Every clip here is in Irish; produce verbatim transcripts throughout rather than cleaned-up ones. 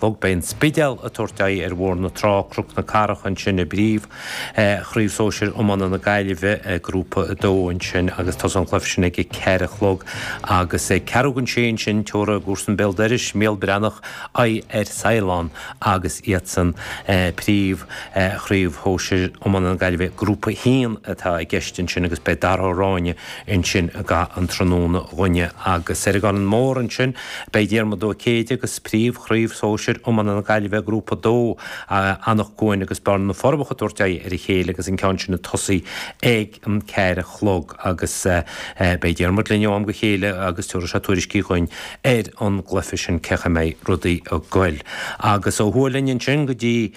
chlog. Beidh an Spidéal ag tabhairt aghaidh ar Bhóthar na Trá, Cnoc na Cathrach ansin i bpríomh chraobh sóisir iomána na Gaillimhe, Grúpa a dó ansin agus tosóidh an cluiche sin ag a ceathair a chlog agus ag ceathrú don sé ansin tabharfaidh a gcomharsain béal dorais, Mícheál Breathnach aghaidh ar Saighleán agus iadsan príomh chraobh shóisir iomána na Gaillimhe, Grúpa a haon atá i gceist ansin agus beidh Dara Ó Ráinne ansin i gcaitheamh an tráthnóna dhúinne agus ar an gCarn Mór ansin beidh Diarmuid Ó Céide agus príomh chraobh sóisir iomána na Gaillimhe Grúpa a dó Anach Cuain agus Bearna na Forbacha ag tabhairt aghaidh ar a chéile agus an ceann sin ag tosaí ag an ceathair a chlog agus beidh Diarmuid linn ó am go chéile agus tabharfaidh sé tuairiscí dhuinn ar an gcluiche sin cén chaoi a mbeidh rudaí ag goil. Agus ó thuaidh linn ansin go dtí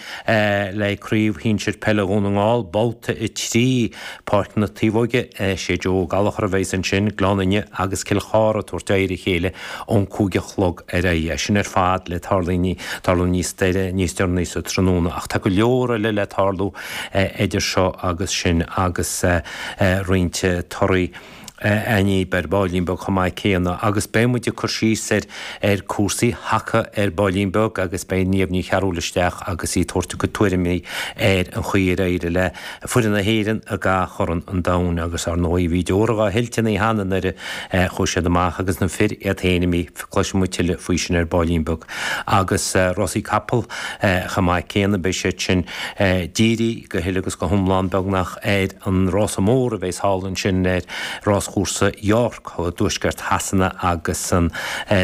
le Craobh Shinsir Peile Dhún na nGall, babhta a trí, Páirc na Taobhóige, sé Joe Ó Gallchóir a bheas ansin, Gleann Fhinne agus Cill Chartha ag tabhairt aghaidh ar a chéile ón cúig a chlog ar aghaidh. É sin ar fad le tarlú tarlú níos níos deireanaí sa tráthnóna ach tá go leor eile le tarlú idir seo agus sin agus roinnt torthaí againn ar baillín beag chomh maith céanna agus beidh muid ag cur síos ar ar cúrsaí haca ar baillín beag agus beidh Niamh Ní Chearúil isteach agus í ag tabhairt a cuid tuairimí ar an chaoi ar éirigh le foireann na hÉireann i gCorn an Domhain agus ar ndóigh bhí deora dhá thuilteanaí cheana nuair a chuaigh siad amach agus na fir iad féin imithe cloisfidh muid tuilleadh faoi sin ar baillín beag agus rásaí capall chomh maith céanna beidh siad sin dírithe go huile agus go hiomlán beagnach ar an rása mór a bheas thall ansin ar ráschúrsa York i dtuaisceart Shasana agus an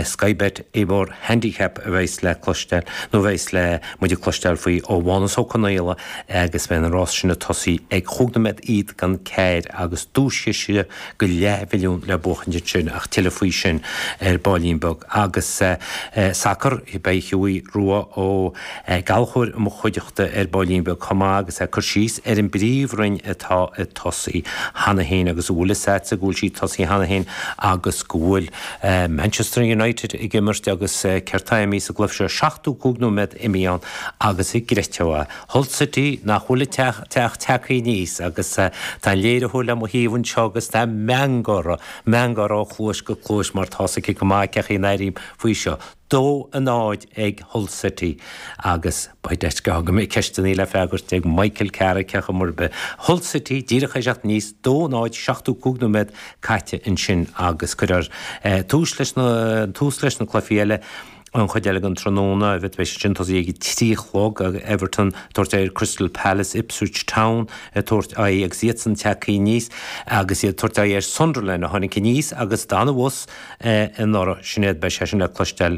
Sky Bet Ebor Handicap a bheas le cloisteáil nó a bheas le muid ag cloisteáil faoi ó Mhánas Ó Conaola agus beidh an rás sin ag tosaí ag chúig nóiméad iad don ceathair agus duaischiste go leathmhilliún le buachaint ansin ach tuilleadh faoi sin ar baillín beag agus sacar beidh Hughie Rua Ó Gallchóir i mo chuideachta ar baillín beag chomh maith agus é ag cur síos ar an bPríomhroinn atá ag tosaí cheana féin agus a bhfuil fhios a'dsa go bhfuil sí tosaithe cheana féin agus go bhfuil Manchester United ag imirt agus céard tá imithe sa gcluiche seo seachtó cúig nóiméad imithe ann agus an gcreidfeá é. Hull City nach bhfuil ag teacht tagtha aníos agus tá an léiritheoir le mo thaobh anseo agus tá meangadh meangadh ó chluais go cluais mar tá's aici go maith cén chaoi a n-airím faoi seo. Dó a náid ag Hull City agus beidh deis go mbeidh ceisteanna le freagairt ag Michael Carrick ar chuma ar bith. Hull City díreach ag teacht aníos dó náid seachtó cúig nóiméad caite ansin agus cuirfear tús leis na tús leis na cluichí eile an chuid eile den tráthnóna a bheidh sin tosaí ag trí a chlog Everton tabhairt ar Crystal Palace Ipswich Town tabhairt aghaidh agus iadsan tagtha aníos agus iad tabhairt aghaidh ar Sunderland a tháinig aníos agus d'fhan abhus anuraidh sin iad beidh sé sin le cloisteáil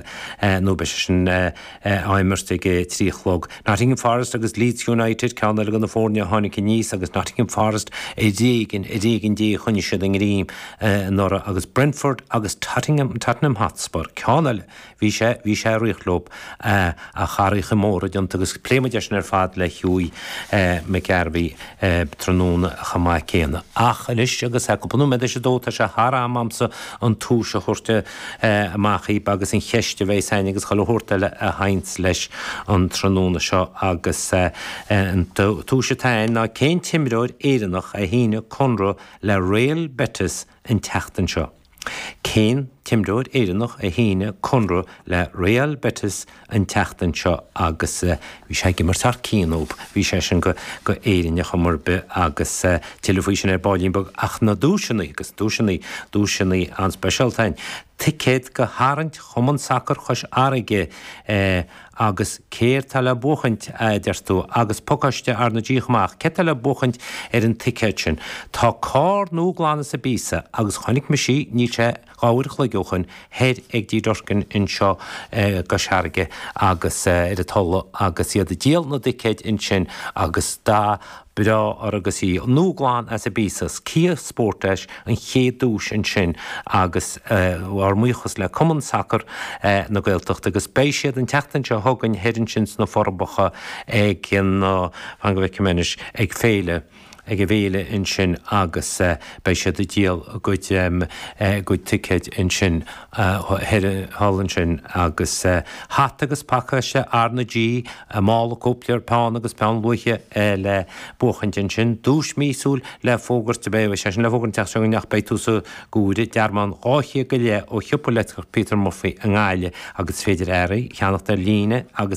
nó beidh sé sin á imirt ag trí a chlog. Nottingham Forest agus Leeds United ceann eile de na foirne a tháinig aníos agus Nottingham Forest ar éigean ar éigean Dé a choinnigh siad a ngreim anuraidh agus Brentford agus Tottenham Tottenham Hotspur ceann eile bhí sé bhí sé ag rith leo ach athruithe móra déanta agus pléifidh muid é sin ar fad le Hughie McGarvey tráthnóna chomh maith céanna. Ach anois agus é cúpla nóiméad théis a dó tá sé thar am a'msa an tomhas a thabhairt amach dhaoib agus an cheist a bheas a'inn agus chuile shórt eile a sheinnt leis an tráthnóna seo agus an tomhas atá a'inn ná cén t-imreoir Éireannach a shínigh conradh le Real Betis an tseachtain seo. Cén t-imreoir Éireannach a shínigh conradh le Real Betis an tseachtain seo agus bhí sé ag imirt thar cionn dóibh, bhí sé sin go go Éirinn ar chuma ar bith agus tuilleadh faoi sin ar baillín beag ach na duaiseanna agus duaiseanna duaiseanna an-speisialta a'inn. Ticéad go harraingt Chumann Sacair Chois Fharraige agus céard tá le buachaint, a deir tú, agus pacáiste arna díol amach, céard tá le buachaint ar an ticéad sin? Tá carr nua glan as an bpíosa agus chonaic mise í, níl sé dhá uair a chloig ó shoin, thoir ag D Durkin anseo i gCois Fharraige agus ar an Tulaigh agus iad ag díol na dticéid ansin agus dath breá orthu agus í nua glan as an bpíosa. Kia Sportage an chéad duais ansin agus ár mbuíochas le Cumann Sacair na Gaeltachta agus beidh siad an tseachtain seo chugainn thoir ansin sna Forbacha ag an, fan go bhfeicfidh mé anois, ag féile. ag an bhféile ansin agus beidh siad ag díol a gcuid a gcuid ticéid ansin thall ansin agus hata agus pacáiste R na G, mála cóipleabhar, peann agus peann luaidhe le buachaint ansin. Duais míosúil le fógairt, beidh sé sin le fógairt an tseachtain seo chugainn ach beidh tús á gcur, dearmán dhá chéad go leith ó shiopa leictreach Peter Murphy i nGaillimh agus is féidir earraí a cheannacht ar líne agus